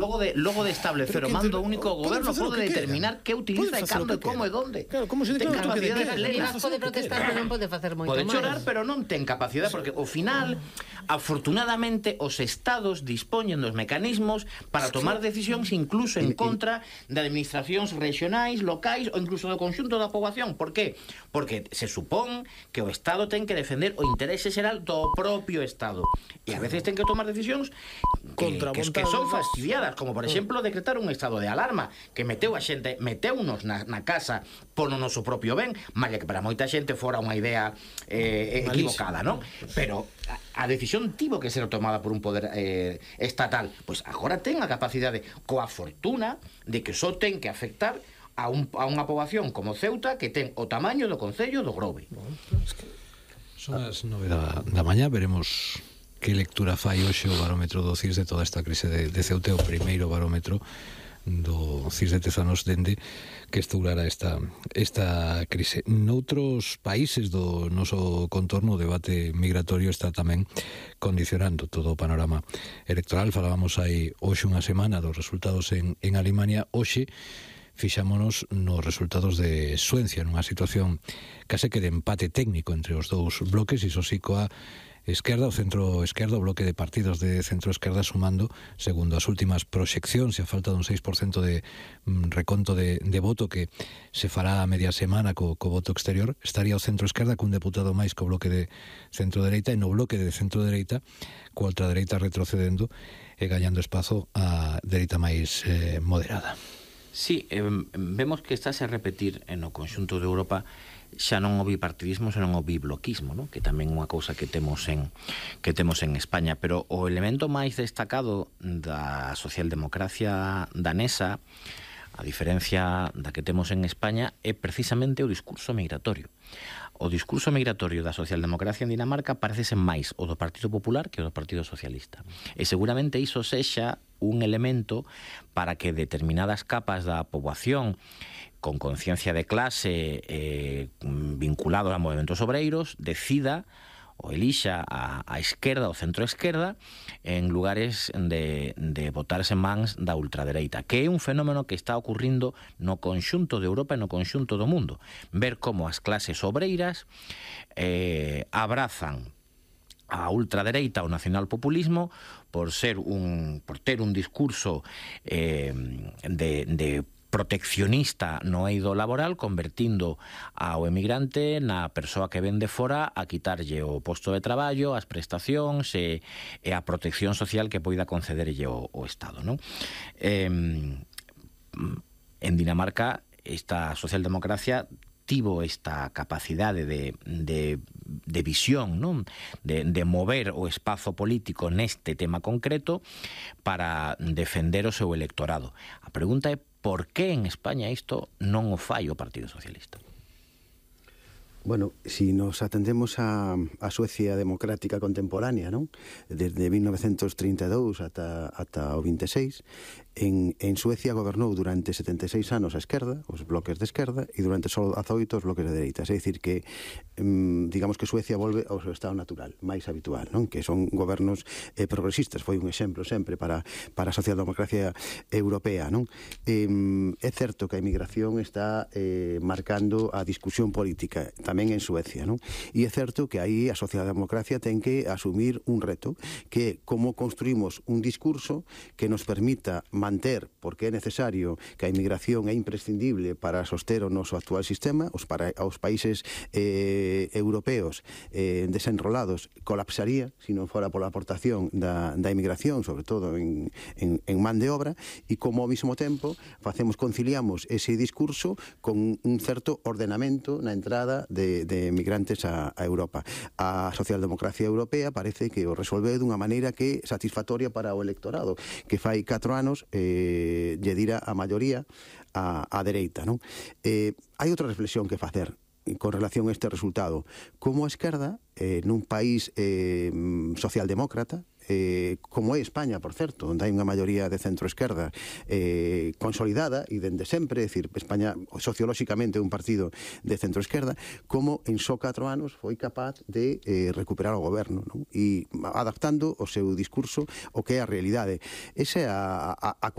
Logo de establecer o mando único, o goberno pode determinar que utiliza e cando, e como e donde. Claro, como se declara o toque de queda. Rivas pode protestar, pero non pode facer moito máis. Pode chorar, pero non ten capacidade, porque ao final, afortunadamente, os estados dispoñen dos mecanismos para tomar decisións incluso en contra de administracións regionais, locais ou incluso do conxunto da poboación. Por qué? Porque se supón que o estado ten que defender o interese xeral do propio estado. E a veces ten que tomar decisións que son fastidiadas, como por exemplo decretar un estado de alarma que meteu meteunos na casa por o noso propio ben, máis que para moita xente fora unha idea equivocada, non? Pero a decisión tivo que ser tomada por un poder estatal. Pois agora ten a capacidade, coa fortuna de que só ten que afectar a unha poboación como Ceuta, que ten o tamaño do concello do Grove. Son as 9 da mañá, veremos que lectura fai hoxe o barómetro do CIS de toda esta crise de Ceuta, o primeiro barómetro do CIS de Tezanos dende que estourara esta crise. Noutros países do noso contorno, o debate migratorio está tamén condicionando todo o panorama electoral. Falábamos hai hoxe unha semana dos resultados en Alemania. Hoxe fixámonos nos resultados de Suecia, nunha situación case que de empate técnico entre os dous bloques, iso sí coa esquerda, o centro esquerda, o bloque de partidos de centro esquerda sumando, segundo as últimas proxeccións, e a falta dun 6% de reconto de voto que se fará a media semana co voto exterior, estaría o centro esquerda cun deputado máis co bloque de centro dereita, e no bloque de centro dereita coa ultradereita retrocedendo e gañando espazo a dereita máis moderada. Sí, vemos que estáse a repetir no conxunto de Europa xa non o bipartidismo, senón o bibloquismo, non? Que tamén é unha cousa que temos en España, pero o elemento máis destacado da socialdemocracia danesa, a diferencia da que temos en España, é precisamente o discurso migratorio. O discurso migratorio da socialdemocracia en Dinamarca parecese máis o do Partido Popular que o do Partido Socialista. E seguramente iso sexa un elemento para que determinadas capas da poboación con conciencia de clase vinculados a movementos obreiros decida ou elixa a esquerda ou centro-esquerda en lugares de botarse mans da ultradereita, que é un fenómeno que está ocurrindo no conxunto de Europa e no conxunto do mundo. Ver como as clases obreiras abrazan a ultradereita o nacionalpopulismo por ter un discurso de proteccionista no eido laboral, convertindo ao emigrante na persoa que ven de fora a quitarlle o posto de traballo, as prestacións e a protección social que poida concederlle o Estado, non? En Dinamarca, esta socialdemocracia tivo esta capacidade de visión, non? De mover o espazo político neste tema concreto para defender o seu electorado. A pregunta é por que en España isto non o fai o Partido Socialista? Bueno, si nos atendemos a Suecia democrática contemporánea, non? Desde 1932 ata o 26, en Suecia gobernou durante 76 anos a esquerda, os bloques de esquerda, e durante só 18 os bloques de dereita. É dicir que, digamos que Suecia volve ao seu estado natural, máis habitual, non? Que son gobernos progresistas. Foi un exemplo sempre para a socialdemocracia europea, non? É certo que a emigración está marcando a discusión política tamén en Suecia, non? E é certo que aí a socialdemocracia ten que asumir un reto, que é como construímos un discurso que nos permita manter, porque é necesario que a inmigración é imprescindible para soster o noso actual sistema, os países europeos desenrolados colapsaría se non fora pola aportación da inmigración, sobre todo en man de obra, e como ao mesmo tempo conciliamos ese discurso con un certo ordenamento na entrada de migrantes a Europa. A socialdemocracia europea parece que o resolveu dunha maneira que é satisfactoria para o electorado, que fai 4 anos lle dira a maioría a dereita, non? Hai outra reflexión que facer con relación a este resultado. Como a esquerda, nun país socialdemócrata, como é España, por certo, onde hai unha maioría de centro-esquerda consolidada e dende sempre, é dicir, España sociolóxicamente é un partido de centro-esquerda, como en só 4 anos foi capaz de recuperar o goberno, non? E adaptando o seu discurso o que é a realidade. Esa é a